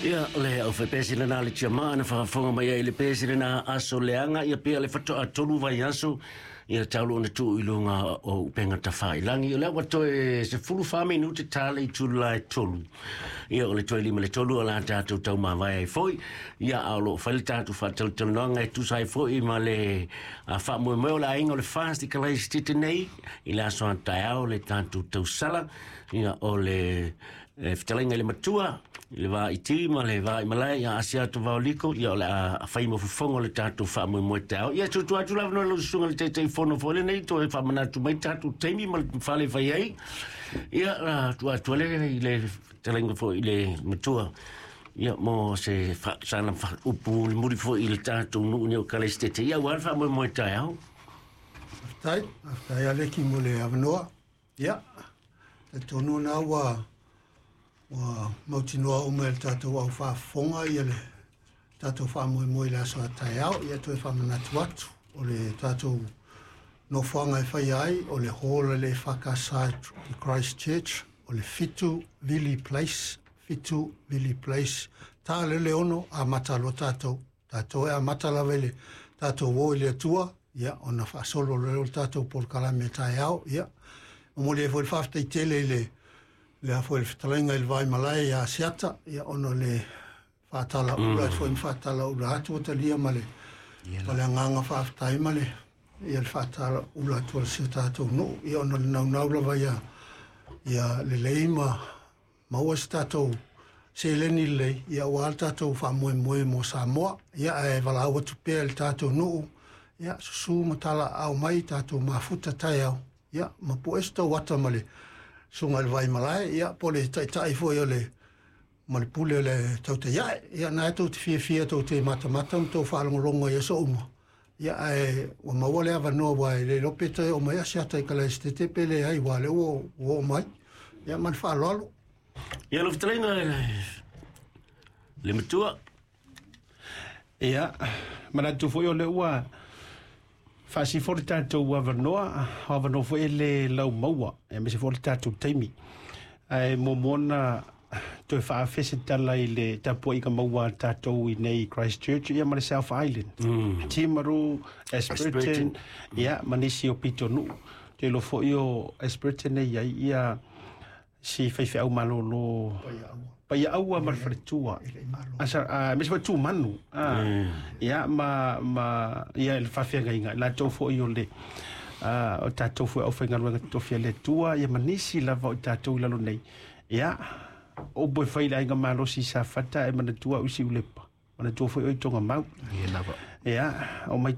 Ia, le aufaipisinisi lena a le Tiamaa na faafofoga mai ai i le pesi lena aso leaga, ia pea le faatoa 3 vaiaso ia tau ona tuu i luga o upega tafailagi. O lea ua toe 14 minute ta le itula e 3. Ia, o le toe 5 le 3 o la tatou taumavae ai foi. Ia, a o loo fai le tatou faatalatalanoaga e tusa ai foi ma le faamoemoe o le aiga o le FAST i Kalaisitete nei i le aso a taeao le tatou tausala. Ia, o le fetalaiga i le matua i le vaiti ma le vaimalae ia Asiata Vaoliko, ia o le a fai ma fofoga o le tatou faamoemoe taeao. Ia tutu atu lava no lau susuga le Taitaifono foi lenei toe faamanatu mai tatou taimi ma le fale fai ai. Ia, la atu atu le i le fetalaiga foi i le matua, ia mo se sana upu mulimuli foi i le tatou nuu nei o Kalaisitete, ia aua le faamoemoe taeao. Faafetai, faafetai Aleki mo le avanoa. Ia, talitonu na ua mautinoa uma e le tatou au faafofoga ia le tatou faamoemoe i le aso a taeao. Ia toe faamanatu atu o le tatou nofoaga e faia ai o le hall o le EFKS i Christchurch, o le 7 Vili Place, 7 Vili Place, ta le 6 amata loa tatou. Tatou e amata lava i le tatou o i le Atua, ia, ona faasolo loa o le tatou polokalame taeao. Ia, momoli ai foi le faafetai tele i le lea foi le fetalaiga i le Vaimalae ia Asiata, ia, ona o le faatalaula foi ma faatalaula atu ua talia ma le agaga faafetai ma le ia le faatalaula atu o si o tatou nuu, ia, ona o le naunau lava ia lelei ma maua se tatou seleni lelei, ia, aua le tatou faamoemoe mo Samoa. Ia, ae valaau atu pea i le tatou nuu, ia, susu ma talaau mai tatou mafuta taeao, ia, ma pue se tauata ma le susuga i le Vaimalae, ia, po o le taitai foi o le ma le pule o le Tautaiae. Ia, na e tou te fiafia tou te matamata ma tou faalogologo i aso uma, ia, ae ua maua le avanoa, aua e le iloa pe toe oo mai Asiata i Kalaisitete pe leai, aua o lea ua oo mai. Ia, ma le faaaloalo. Ia, lau fetalaiga le matua. Ia, manatu foi o lea ua faasifo le tatou avanoa, o avanoa foi e le laumaua, e aemaise foi o le tatou taimi. Ae muamua ona toe faafe se tala i le tapuaiga maua a tatou i nei Christchurch ia ma le South Island. Timaru, Ashburton, ia, ma nisi o pitonuu. Te iloa foi o Ashburton e i ai ia si faifeau malolo Paiaua ma le faletua. Asa aemaise foi Tumanu. Ia ma ia le faafeagaiga latou foi o le o tatou foi aufaigaluega totofi a le Atua, ia ma nisi lava o tatou i lalo nei. Ia, o upu e fai i le aiga malosi i Safata e manatua au i Siulepa, manatua foi oe i Togamau. Ia, o mai.